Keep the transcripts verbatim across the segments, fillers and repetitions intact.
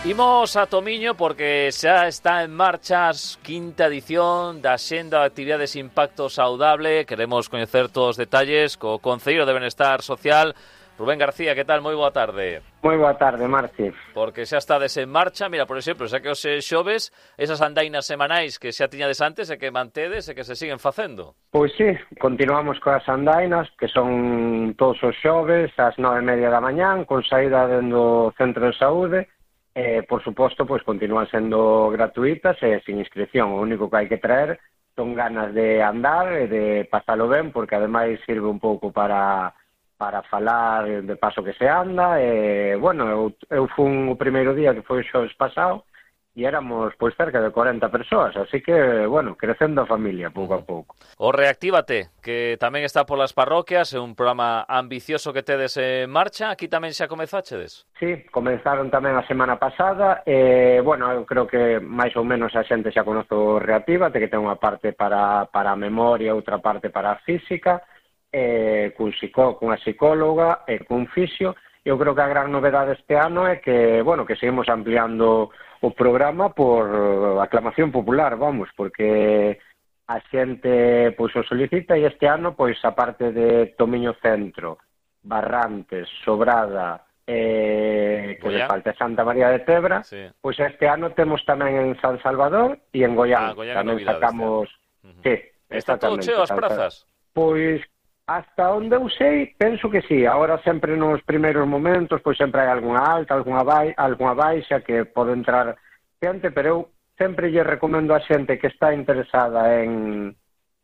Imos a Tomiño porque xa está en marcha a quinta edición da Xenda de Actividades Impacto Saudable. Queremos coñecer todos os detalles co Concelleiro de Benestar Social, Rubén García. Que tal? Moi boa tarde. Moi boa tarde, Marci. Porque xa estades en marcha. Mira, por exemplo, xa que os xoves, esas andainas semanais que xa tiñades antes e que mantedes e que se siguen facendo. Pois sí, continuamos coas andainas, que son todos os xoves, ás nove e media da mañán, con saída dentro do Centro de Saúde. Eh, por suposto, pois continúan sendo gratuitas e sin inscripción. O único que hai que traer son ganas de andar e de pasalo ben, porque ademais sirve un pouco para para falar de paso que se anda. E, bueno, eu, eu fun o primeiro día, que foi o xoves pasado, e éramos pois cerca de corenta persoas, así que, bueno, crecendo a familia pouco a pouco. O Reactívate, que tamén está polas parroquias, é un programa ambicioso que tedes en marcha. Aquí tamén xa comezáchedes? Sí, comenzaron tamén a semana pasada, e, bueno, eu creo que máis ou menos a xente xa conoce o Reactívate, que ten unha parte para, para a memoria, outra parte para a física, e, cun psicó, cunha psicóloga e cun fisio. Eu creo que a gran novedade este ano é que, bueno, que seguimos ampliando o programa por aclamación popular, vamos, porque a xente pois o solicita, e este ano, pois, a parte de Tomiño Centro, Barrantes, Sobrada, eh, que le falta Santa María de Tebra, sí. Pois este ano temos tamén en San Salvador e en Goián. Ah, Goián tamén novidades, sacamos... Uh-huh. Sí, está todo cheo as prazas? Pois... Hasta onde eu sei, penso que sí. Agora sempre nos primeiros momentos, pois sempre hai algunha alta, algunha, bai, algunha baixa que pode entrar xente, pero eu sempre lle recomendo a xente que está interesada en,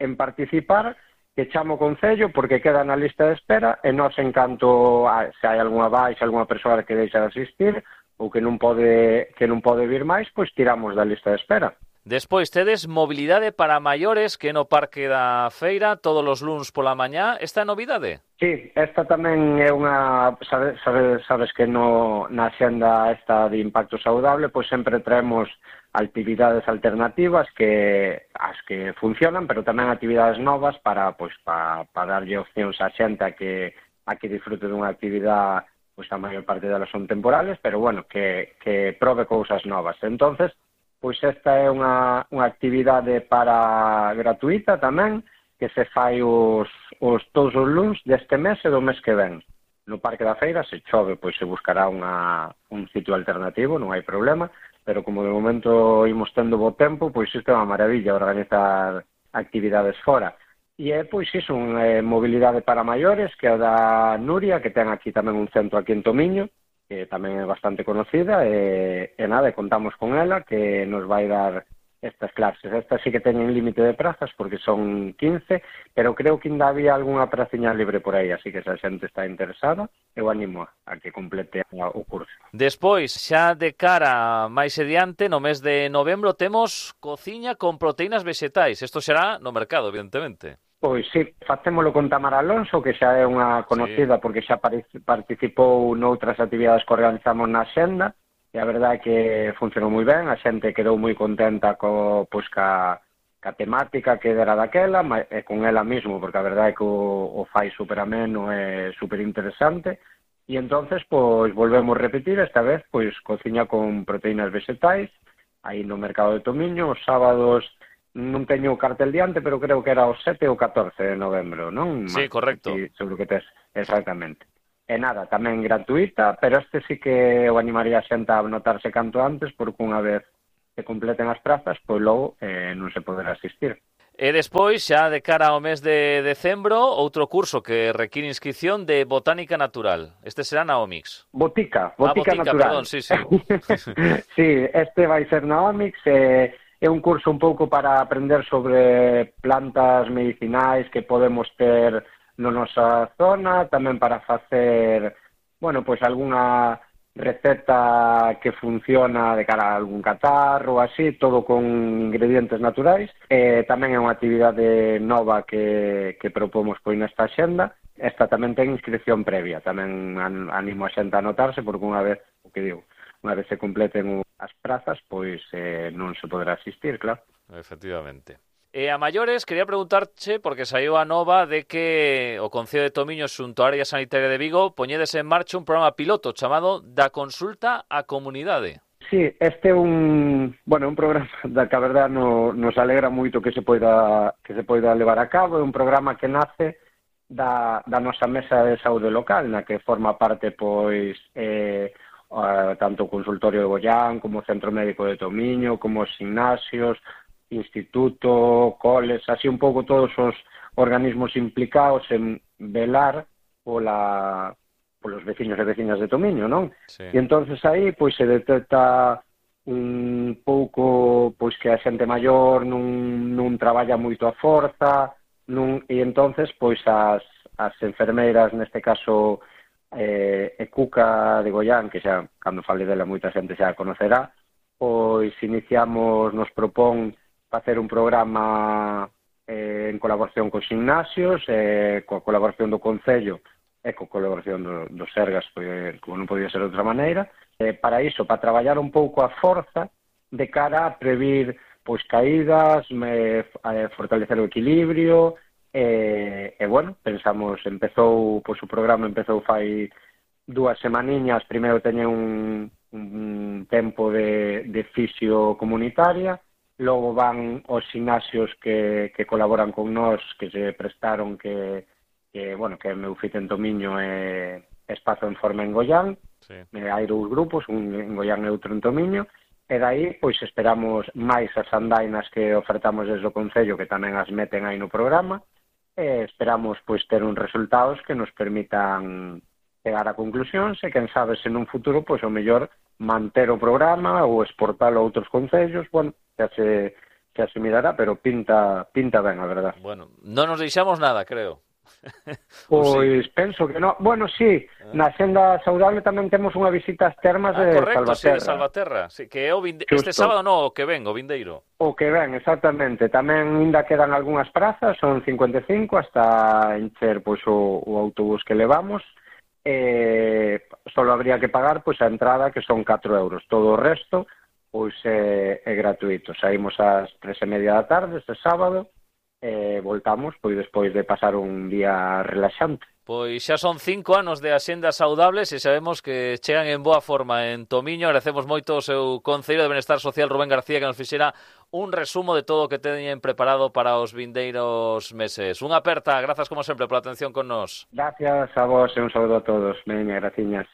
en participar que chamo o Concello, porque queda na lista de espera, e nós en canto a, se hai algunha baixa, algunha persoa que deixa de asistir ou que non pode, que non pode vir máis, pois tiramos da lista de espera. Despois tedes mobilidade para maiores que no Parque da Feira todos os luns pola mañá. Esta é novidade? Sí, esta tamén é unha... Sabes, sabes, sabes que no, na xenda esta de Impacto Saudable pois sempre traemos actividades alternativas que as que funcionan, pero tamén actividades novas para pois para pa darlle opcións á xente a que a que disfrute dunha actividade, pois a maior parte delas son temporales, pero bueno, que, que prove cousas novas. Entonces, pois esta é unha, unha actividade para gratuita tamén, que se fai os, os todos os luns deste mes e do mes que ven. No Parque da Feira, se chove, pois se buscará unha, un sitio alternativo, non hai problema, pero como de momento imos tendo bo tempo, pois isto é unha maravilla organizar actividades fora. E é, pois, iso, unha mobilidade para maiores, que é da Nuria, que ten aquí tamén un centro aquí en Tomiño, que tamén é bastante conocida, e, e nada, contamos con ela, que nos vai dar estas clases. Estas sí que teñen límite de prazas, porque son quince, pero creo que ainda había algunha praciña libre por aí, así que se a xente está interesada, eu animo a que complete o curso. Despois, xa de cara máis adiante, no mes de novembro, temos cociña con proteínas vegetais. Isto será no mercado, evidentemente. Pois sí, facémolo con Tamara Alonso, que xa é unha conocida, sí, porque xa participou noutras actividades que organizamos na Xenda, e a verdade é que funcionou moi ben, a xente quedou moi contenta co, pois, ca, ca temática que era daquela, e con ela mismo, porque a verdade é que o, o fai super ameno e super interesante, e entonces pois volvemos a repetir, esta vez pois cociña con proteínas vegetais, aí no mercado de Tomiño, os sábados. Non teño o cartel diante, pero creo que era o sete ou catorce de novembro, non? Sí, correcto. Sí, seguro que tes, exactamente. E nada, tamén gratuita, pero este sí que eu animaría a xente a anotarse canto antes, porque unha vez que completen as prazas, pois logo eh, non se poderá asistir. E despois, xa de cara ao mes de decembro, outro curso que require inscripción de Botánica Natural. Este será na Omix. Botica, ah, Botica, botica Natural. Perdón, sí, sí. Sí, este vai ser na Omix, e... Eh, é un curso un pouco para aprender sobre plantas medicinais que podemos ter na nosa zona, tamén para facer, bueno, pois algunha receta que funciona de cara a algún catarro, así, todo con ingredientes naturais. E tamén é unha actividade nova que, que propomos pois nesta xenda. Esta tamén ten inscripción previa, tamén animo a xente a anotarse, porque unha vez, o que digo, unha vez se completen as prazas, pois eh, non se poderá asistir, claro. Efectivamente. E a maiores, quería preguntarche, porque saiu a nova de que o Concello de Tomiño xunto á área sanitaria de Vigo poñedes en marcha un programa piloto chamado Da Consulta á Comunidade. sí, este é un, bueno, un programa da que a verdade no, nos alegra moito que se poida que se poida levar a cabo, é un programa que nace da, da nosa mesa de saúde local, na que forma parte, pois, eh, uh, tanto o consultorio de Goián, como o Centro Médico de Tomiño, como os gimnasios, instituto, coles, así un pouco todos os organismos implicados en velar pola polos veciños e veciñas de Tomiño, non? Sí. E entonces aí pois se detecta un pouco pois que a xente maior non, non traballa moito a forza, non, e entonces pois as, as enfermeiras, neste caso eh, e Cuca de Goián, que xa, cando fale dela moita xente xa a conocerá, pois iniciamos, nos propón facer un programa eh, en colaboración cos gimnasios, eh, coa colaboración do Concello e coa colaboración do, do Sergas, porque, como non podía ser de outra maneira, eh, para iso, para traballar un pouco a forza de cara a previr pois caídas, me, eh, fortalecer o equilibrio, e, e bueno, pensamos, empezou, pois o programa empezou fai dúas semaniñas, primeiro teña un, un tempo de, de fisio comunitaria, logo van os gimnasios que, que colaboran con nós, que se prestaron, que que, bueno, que meu fit en Tomiño e Espazo en Forma en Goián, sí. Hai dous grupos, un en Goián e outro en Tomiño, e daí, pois, esperamos máis as andainas que ofertamos desde o Concello, que tamén as meten aí no programa, e esperamos, pois, ter uns resultados que nos permitan chegar a conclusións, e quen sabe se nun futuro, pois, o mellor manter o programa ou exportalo a outros concellos, bueno, xa se, xa se mirará, pero pinta, pinta ben, a verdad. Bueno, non nos deixamos nada, creo. Pois sí. Penso que non. Bueno, sí, ah. na Senda Saudable tamén temos unha visita ás termas ah, de correcto, Salvaterra. Sí, de Salvaterra. Sí, que é o vinde... este sábado non, o que ven, o vindeiro. O que ven, exactamente. Tamén ainda quedan algunhas prazas, son cincuenta e cinco hasta encher pois o, o autobús que levamos. Eh, solo habría que pagar pois a entrada, que son catro euros. Todo o resto pois é, é gratuito. Saímos ás tres e media da tarde este sábado. E voltamos, pois, despois de pasar un día relaxante. Pois xa son cinco anos de Axendas Saudables e sabemos que chegan en boa forma en Tomiño. Agradecemos moito ao seu Concelleiro de Benestar Social, Rubén García, que nos fixera un resumo de todo o que teñen preparado para os vindeiros meses. Unha aperta, grazas como sempre pola atención con nós. Gracias a vos e un saúdo a todos. Veña, graciñas.